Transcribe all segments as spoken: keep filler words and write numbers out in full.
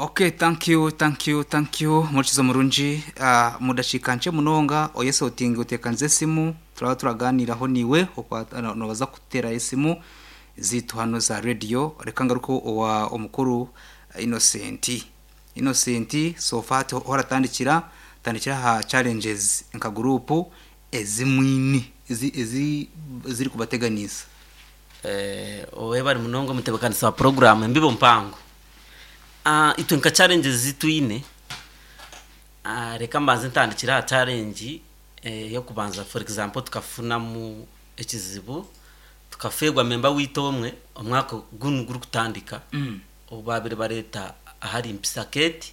Okay, thank you, thank you, thank you. Murikizo murungi uh, mudashika nche munonga oyese otinge utekanze esimu turaba turaganiraho niwe okwa- nobaza kutera esimu zitu hano za radio. Reka ngaruko owa omukuru Innocent. Innocent so far horatandikira tandikira ha challenges nka group ezimwini ezi ezi ziri kubateganisa. Eh, owe bari munonga mutebekanisa wa program embibo mpango. Ah, itwe nka challenges zitwine, ah, reka mbanze ntandikira aha challenge eh, yo kubanza. For example, tukafunamu ekizibu, tukafegwa memba witu omwe omwaka gunu guri kutandika. Mm. Obu babire bareta ahari Mpisaketi,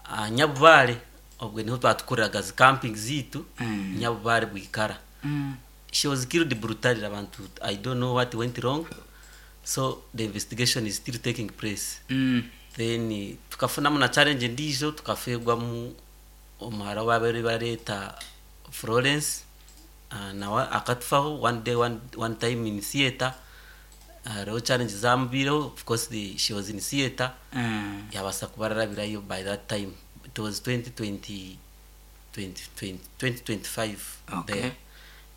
ah, Nyabubare, obwe niho twatukoreraga zi camping zitu. Mm. Nyabubare bwikara. Mm. She was killed brutally. Abantu, I don't know what went wrong, so the investigation is still taking place. Mm. Then eh, tukafunamu na challenge ndijo, tukafegwamu omuhara wabere bareta Florence, uh, nawe akatufaho one day, one, one time in theater. Hariho uh, challenge zamubireho. Of course the, she was in theater. Mm. Yabasa kubararabirayo. By that time it was twenty twenty, twenty twenty, twenty twenty-five. Okay. There.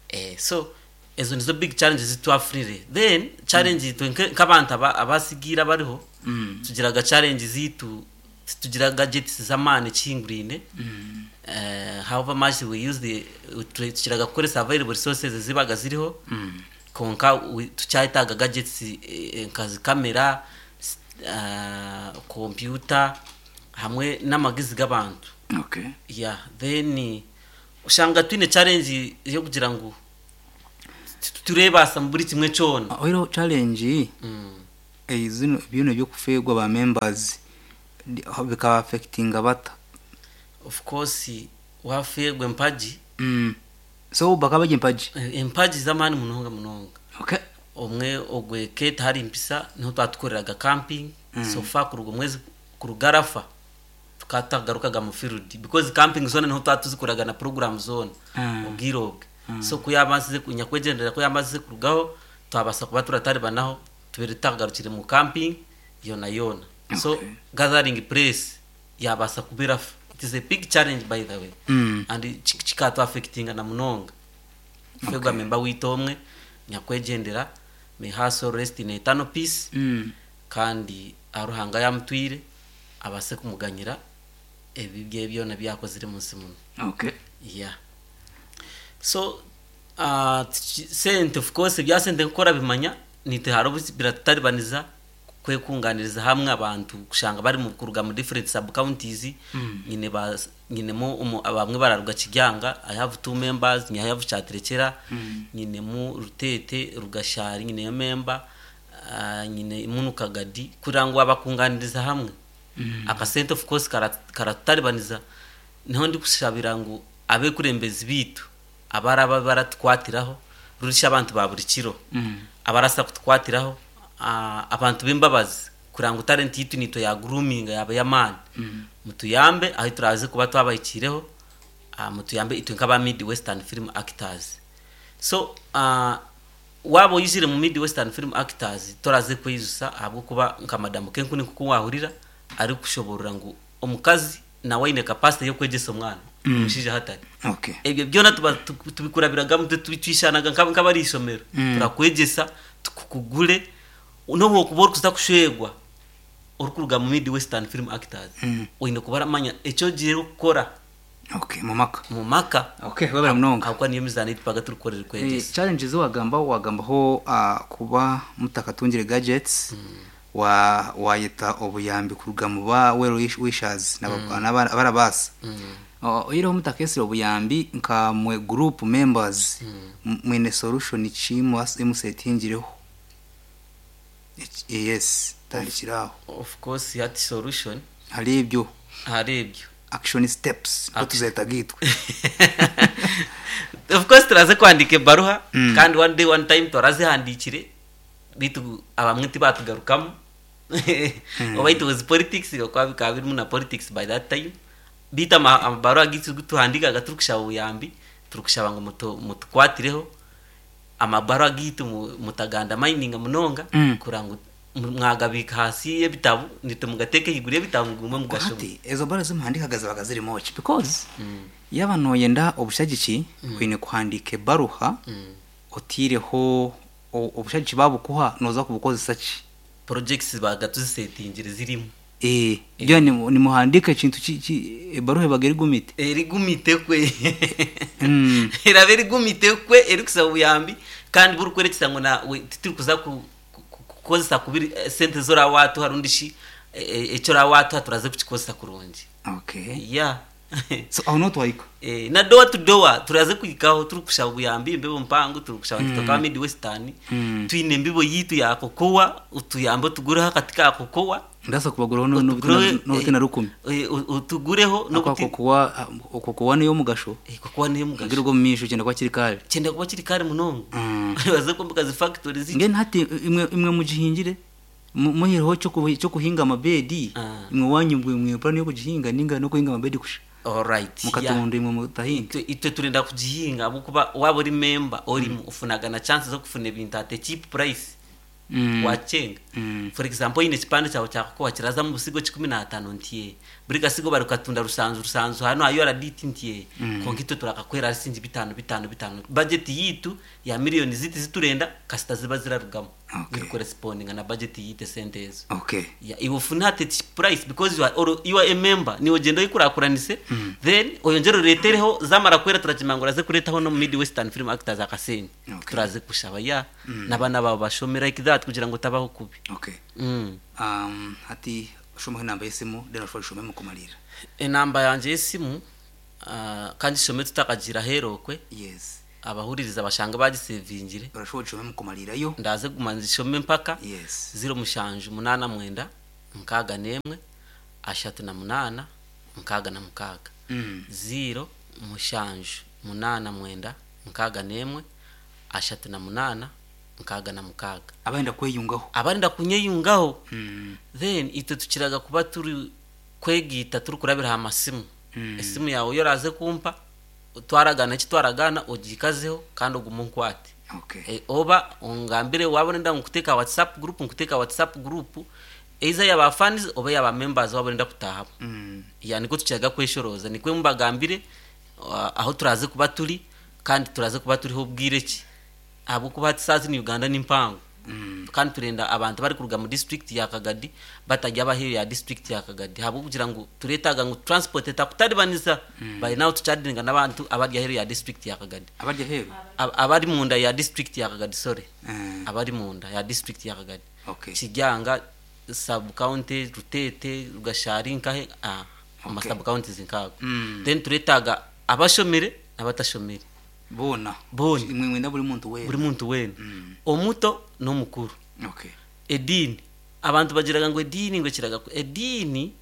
Eh, so ezo nizo big challenges twafurire. Then challenge itwe nke- nk'abantu aba- abasigira bariho, Mm. tugiraga challenge zitu, tugira gadgets z'amaani kihingurine. Mm. uh, however much we use the, tukiraga kukoresa available resources zibaga ziriho, Mm. konka we- tukyayetaaga gadgets, eh, nka zi kamera, s- uh, computer hamwe n'amagezi g'abantu. Okay. Yeah, then ushanga twine challenge yo kugira ngu tu- turebasa mu buri kimwe kyona. Oiro challenge mm. eh, zino bino byokufegwa ba members di- bikaba affectinga bata? Of course wafegwa empagi. mm. so bakaba bajya empagi? eh, empagi z'amaani munonga munonga. Okay. Omwe ogwe Kate hari Mpisa niho twatukoreraga camping. mm. so far kuruga omwezi kurugarafa tukatagarukaga mu field, because camping zone niho twatuzikoraga na program zone. Mm. Obwire obwe so kuyamazize nyakwegendera ko yamazize kurugaho, twabasa kuba turataribanaho tubere tutagarukire mu camping yona yona. So Okay. gathering place yabasa kuberafa. It is a big challenge, by the way, Mm. and chikatu affectinga na munonga fegwa memba witu omwe nyakwegendera. May her soul rest in eternal peace. Mm. Kandi aruhanga yamutwire abase kumuganyira ebi bye byona byakozire munsi muno. Okay. Yeah, so uh, sente, of course bya sente nkora bimanya nite haro biratutaribaniza kwekunganiriza hamwe abantu kushanga bari mu kuruga mu different sub counties. Mm. Nyine ba nyine mu umu- bamwe bararuga Kijyanga, I have two members, nyine I have Cyaterekera, Mm. nyine mu Rutete Rugashari, nyine yo member, uh, nyine munu Kagadi, kugira ngo abakunganiriza hamwe. Mm. Akasente of course kara- karataribaniza. Niho ndi kushabira ngu abekurembezi bitu abaraba baratukwatiraho rurisha abantu ba buri kiro, Mm. abarasa kutukwatiraho, ah, abantu b'imbabazi, kugira ngo talent yitu nito ya grooming yaba y'amani. Mm. Mutuyambe aho turaze kuba twabahikireho, ah, mutuyambe itwe nk'aba Mid Western Film Actors. So uh, waba uyizire mu Mid Western Film Actors, toraze kwizusa ahabwo kuba nka madamu Kenkuni, kuko wahurira ari kushoborora ngu omukazi nawe aine capacity yo kwegesa omwana Mm. omushija hatari. Okay. Ebyo byona tuba tu- tubikurabiragamu, twishanaga nk'aba- nk'abari ishomero. Mm. Turakwegesa tukukugure nobu okuba orikuza kushwegwa orikuruga mu Mid Western Film Actors, Mm. oine kuba aramanya ekyo ogiire kukora Okay, mu maka. Mu maka. Okay, wabara munonga. Ahabwokuba niyo mizaano eitubaga turikukorera Eh, kwegesa. Challenges wagamba wagambaho uh, kuba mutakatungire gadgets, wa wayeta obuyambi kuruga mu ba well wish- wishers n'abarabasa. Oyireho mutakesire obuyambi, nka mwe group members, m- mwine solution ki musetingireho? Yes, tandikiraho. Of course hati solution Hari ibyo hari ibyo action steps ko Action. tuzeta gitwe. Of course turaze kwandika ebaruha, Mm. kandi one day, one time twarazihandikire, bitu abamwe tibatugarukamu, oba it was politics, okuba bikaba birimu na politics by that time. Bitu ama- amabaruha gitu tuhandikaga turikushaba obuyambi, turikushaba ngu mutu- mutukwatireho amabaruha gitu mu- mutaganda mining munonga, Mm. kugira ngu Mwagabika hasi y'ebitabo, nitwe mugateke higuru y'ebitabo, mugume mugashoma. Hati ezo bara zimuhandikaga zibaga zirimu ki? Because yaba noyenda obushagiki, kwine kuhandika ebaruha otiireho o- obushagiki babukuha noza kubukozesa ki? Projects baga tuzisetingire zirimu. Eh, byo nimuhandika ekintu ki- ki- ebaruha ebaga erigumite. Erigumite kwe. Mm. Eraba erigumite kwe, erikusaba obuyambi kandi burikwerekesa ngu na we- tituri kuza ku- ku- kukozesa kubiri eh, sente zorawatuha rundi shi eh, eh, ekyo orawatuha turaze kukikozesa kurungi. Okay. Ya. So aho niho twahika. Eh, na door to door turaze kuhikaho, turi kushaba obuyambi embibo mpango, turi kushaba mm. Kitoka Mid Western. Mm. Twine embibo yitu ya kokowa, utuyambe tugureho akati ka kokowa. Ndasa kubaguraho n'obutina rukumi. eh, u- utugureho Akwa n'obuti- kokowa, okokowa niyo mugasho. Eh, kokowa niyo mugasho. Ngira ubwo mu misho kyenda kuba kiri kare. Kyenda kuba kiri kare munonga. Mm. Baze kwomboka zi factory zi Ngeni hati imwe imwe mugihingire, mu- muhireho cyo kuhi- cyo kuhinga amabedi. Ah. Imwe wanyu mwe mwe plan yo kugihinga ninga no kuhinga amabedi kusha. Alright, yeah. Mukatunda imwe mutahinga. Itwe itwe turenda kugihinga abukuba waba uri member orimu ufunaga na chance zo kufuna ebintu at a cheap price. Mm. Wachenga. Mm. For example, ine kipande cyawe cya kokowa kiraza mu busigo kikumi n'atano ntiye, buri gasigo bari katunda rusanzu rusanzu hano ayo araditi ntiye. mm. Konka itwe turakakwera sinzi bitanu bitanu bitanu, budget yitu ya miliyoni ziti ziturenda kasita ziba zirarugamo. Okay. Biri corresponding na budget yite sente ezo. Okay. Yeah, iwe ufuna at a cheap price because you are, or you are a member, niwe ogenda oyikurakuranise. Then oyongere oretereho zamara kwera, turakimangura ze kuretaho no Mid Western Film Actors akasente. Okay. Turaze kushaba ya n'abana babo bashome like that kugira ngo tabaho kubi. Okay. mm. Um hati shomaho inamba y'esimu, then ushobora shome mu kumalira. Enamba yanje y'esimu, uh, kandi shome tutakagira herokwe. Yes. Abahuririza bashanga bagisevingire. Urashobora shome mu kumalirayo. Ndaze guma nzishome mpaka. Yes. Ziro mushanju munana mwenda nkaga nemwe ashatu na munana nkaga na mukaga. Mm. Ziro mushanju munana mwenda nkaga nemwe ashatu na munana nkaga na mukaga. Abaenda kweyungaho. Abarinda kunyeyungaho. Mm. Then itwe tukiraga kuba turi kwegita turi kurabira aha masimu. Mm. Esimu yawe yoraze kumpa, twaragana eki twaragana, ogikazeho kandi ogume onkwate. Okay. E, oba ongambire wabona nda nkuteka WhatsApp group, nkuteka WhatsApp group eiza yaba fans oba yaba members wabona nda kutahamu. Mm. Ya, niko tukiraga kweshoroza, nikwe mubagambire uh, aho turaze kuba turi kandi turaze kuba turiho bwire ki abo kuba tisazi ni Uganda n'impango. Mm. Kandi turenda abantu bari kuruga mu district ya Kagadi batajya abaheyo ya district ya Kagadi habo kugira ngo turetaga ngo transport etakutaribaniza. mm. By now tuchadinga n'abantu abari aheyo ya district ya Kagadi. Abarya heru. Ab- abari munda ya district ya Kagadi, sorry. Mm. Abari munda ya district ya Kagadi. Okay. Kijanga sub county, Rutete, Rugashari, nkahe ah ama Okay. sub counties nkago. Mm. Then turetaga abashomere n'abatashomere. Bona. Bona. Imwe mwenda buri muntu wena. Buri muntu wena. Mm. Omuto n'omukuru. Okay. Edini abantu bagiraga ngo edini ngo kiraga ku- edini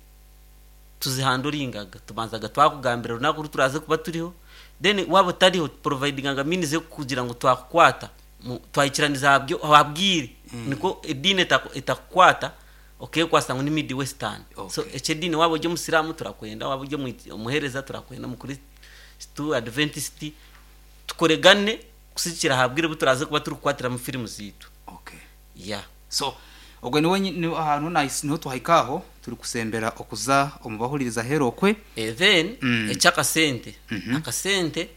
tuzihanduringaga, tubanzaga twakugambira runaka uru turaze kuba turiho, then waba utariho providingaga means yo kugira ngo twakukwata mu- twayikiraniza habyo wabwire. Mm. Niko edini etaku- etakukwata okay kwasa ngo ni Mid Western. Okay. So ekyedini waba ujye omusiramu turakwenda, waba ujye omu- omuhereza turakwenda, mukristu Adventist tukoregane kusikira habwire bu turaze kuba turi kukwatira mu filimu zitu. Okay. Yeah. So ubwo niwe nyi- ni ahantu nahise niho tuhayikaho turi kusembera okuza omubahuririza herokwe. Eh, then Mm. ekyakasente. Mhm. Akasente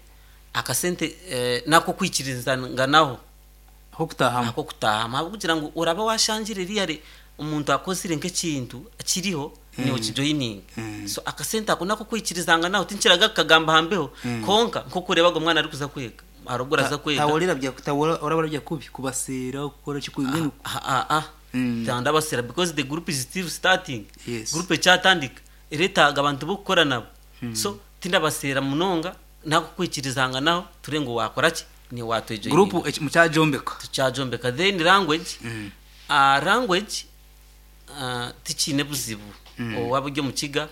akasente eh, nako kwikirizanganaho. Aho kutahamu. Ako kutahama aho kugira ngo uraba washanjire riyare omuntu akozire nk'ekintu kiriho mm. niwe kijoining. Mm. So akasente ako nako kwikirizanganaho tinkiraga kagamba hambeho. Mm. Konka nko kurebaga omwana ari kuza kwega arubwo araza kwega. Tawolera bya tawora orabara bya kubi kubasera gukora kikuye. Ah, ah, ah. Mm. Tandabasera because the group is still starting. Yes. Group ekyatandika eretaga abantu bokukora nabo. So tindabasera munonga nako kwikirizanga naho ture ngo wakora ki ni watwejoininga. Group mucyajombeka. Tucyajombeka. Then language. Mm. Uh, language uh, tikine buzibu. Mm. Owaba ujye mu kiga,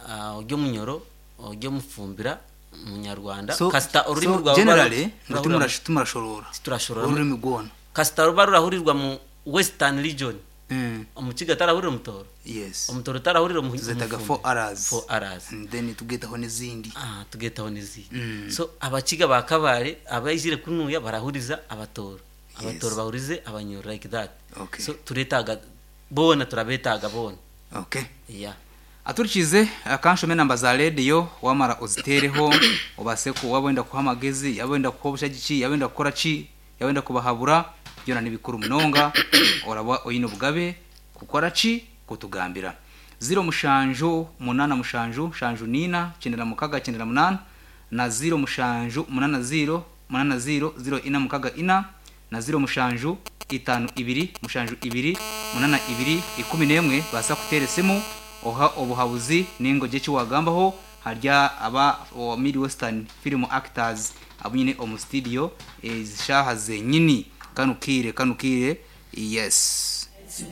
uh, ujye mu nyoro, ujye mu fumbira munyarwanda. So kasita ururimi so rwawe generally ruba- ngo tumurash tumurashorora. Turashorora. Ururimi gwona. Kasita ruba rurahurirwa mu Western Region. Mm. Omukiga tarahurira omutoro. Yes. Omutoro tarahurira omu- Tuzetaga omufumbira. four R's. Four R's. And then tugetaho n'izindi. Ah, tugetaho n'izindi. Mm. So abakiga ba Kabare abaizire kunuya barahuriza abatoro. Abatoro bahurize Abanyoro, like that. Okay. So turetaga boona, turabetaga boona. Okay. Yeah. Aturikize akanshome namba za rediyo, wamara ozitereho obase ku waba kuha amagezi, yaba wenda kuha obushagiki, yaba wenda kukora ki, yaba wenda kubahabura, byona nibikuru munonga. Oraba oyine obugabe kukora ki, kutugambira. Ziro mushanju munana mushanju shanju nina kyenda na mukaga kyenda na munana na ziro mushanju munana ziro munana ziro ziro ina mukaga ina na ziro mushanju itanu ibiri mushanju ibiri munana ibiri ikumi n'emwe. Basa kutera esimu oha obuhabuzi ningo eki wagambaho harya aba o Mid Western Film Actors abunyine omu studio ezishaha zenyini. Kanukire, kanukire, yes.